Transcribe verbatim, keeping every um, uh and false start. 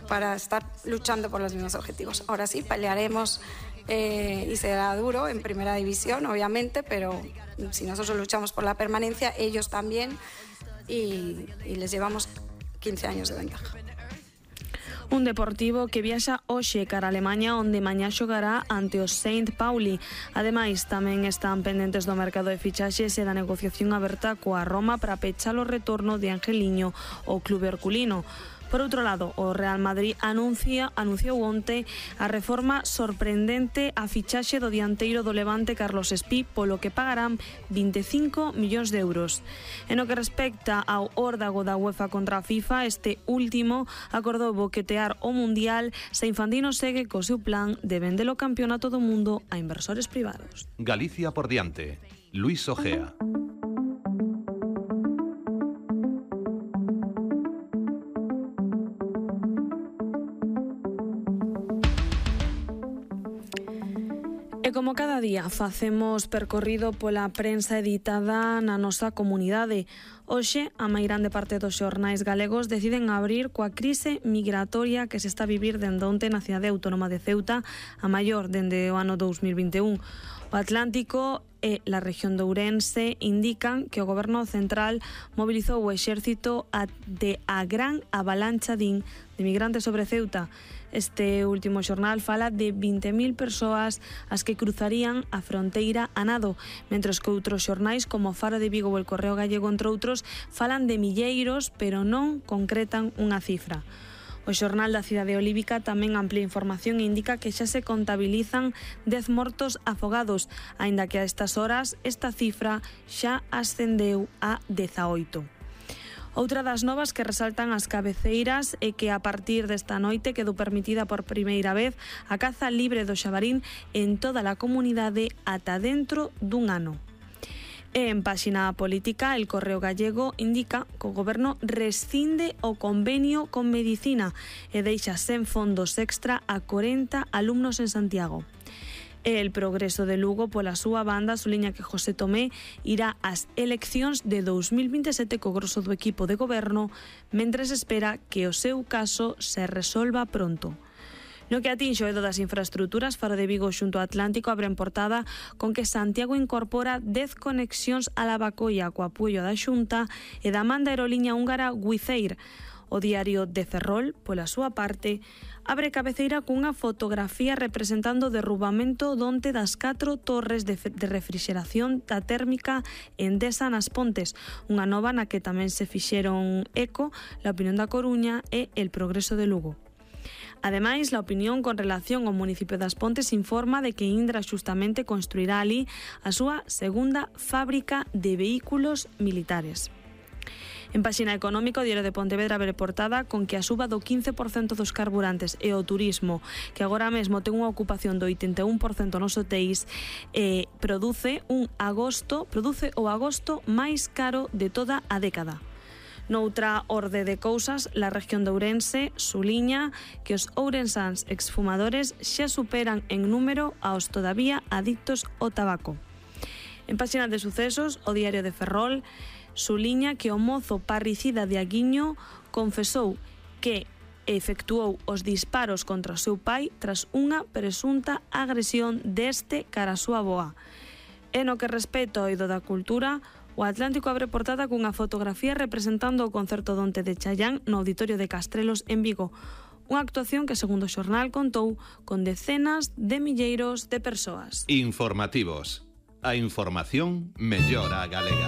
para estar luchando por los mismos objetivos. Ahora sí, pelearemos eh, y será duro en primera división, obviamente, pero si nosotros luchamos por la permanencia, ellos también, y, y les llevamos quince años de ventaja. Un Deportivo que viaxa hoxe cara a Alemanha, onde mañá xogará ante o Saint Pauli. Ademais, tamén están pendentes do mercado de fichaxes e da negociación aberta coa Roma para pechar o retorno de Angeliño ao clube herculino. Por outro lado, o Real Madrid anuncia, anunciou onte a reforma sorprendente a fichaxe do dianteiro do Levante Carlos Espí, polo que pagarán vinte e cinco millóns de euros. En o que respecta ao órdago da UEFA contra a FIFA, este último acordou boquetear o Mundial se Infantino segue co seu plan de vender o campeonato do mundo a inversores privados. Galicia por diante. Luis Ojea. E como cada día facemos percorrido pola prensa editada na nosa comunidade, hoxe a meirande parte dos xornais galegos deciden abrir coa crise migratoria que se está a vivir dende onte na cidade autónoma de Ceuta, a maior dende o ano dous mil vinte e un. O Atlántico e la región de Ourense indican que o goberno central mobilizou o exército de a gran avalancha din de migrantes sobre Ceuta. Este último xornal fala de vinte mil persoas as que cruzarían a fronteira a nado, mentres que outros xornais como Faro de Vigo ou El Correo Gallego, entre outros, falan de milleiros, pero non concretan unha cifra. O xornal da cidade olívica tamén amplía información e indica que xa se contabilizan dez mortos afogados, aínda que a estas horas esta cifra xa ascendeu a dezaoito. Outra das novas que resaltan as cabeceiras é que a partir desta noite quedou permitida por primeira vez a caza libre do xabarín en toda a comunidade ata dentro dun ano. E en páxina política, El Correo Gallego indica que o goberno rescinde o convenio con Medicina e deixa sen fondos extra a corenta alumnos en Santiago. E El Progreso de Lugo, pola súa banda, suliña que José Tomé irá ás eleccións de dous mil vinte e sete co grosso do equipo de goberno, mentres espera que o seu caso se resolva pronto. No que atinxe o eido das infraestruturas, Faro de Vigo xunto ao Atlántico abren portada con que Santiago incorpora dez conexións a Lavacolla co apoio da Xunta e da manda aeroliña húngara Wizz Air. O diario de Ferrol, pola súa parte, abre cabeceira cunha fotografía representando o derrubamento donte das catro torres de, de refrixeración da térmica Endesa nas Pontes, unha nova na que tamén se fixeron eco La Opinión da Coruña e El Progreso de Lugo. Ademais, La Opinión con relación ao municipio das Pontes informa de que Indra xustamente construirá ali a súa segunda fábrica de vehículos militares. En páxina económica, o Diario de Pontevedra abre portada con que a suba do quince por cento dos carburantes e o turismo, que agora mesmo ten unha ocupación do oitenta e un por cento nos hotéis, eh, produce un agosto, produce o agosto máis caro de toda a década. Noutra orde de cousas, la región de Ourense suliña que os ourensáns exfumadores xa superan en número aos todavía adictos ao tabaco. En páxina de sucesos, o Diario de Ferrol suliña que o mozo parricida de Aguiño confesou que efectuou os disparos contra o seu pai tras unha presunta agresión deste cara a súa avoa. E no que respecta ao eido da cultura, o Atlántico abre portada cunha fotografía representando o concerto donte de Chayán no Auditorio de Castrelos en Vigo. Unha actuación que, segundo o xornal, contou con decenas de milleiros de persoas. Informativos. A información mellora a galega.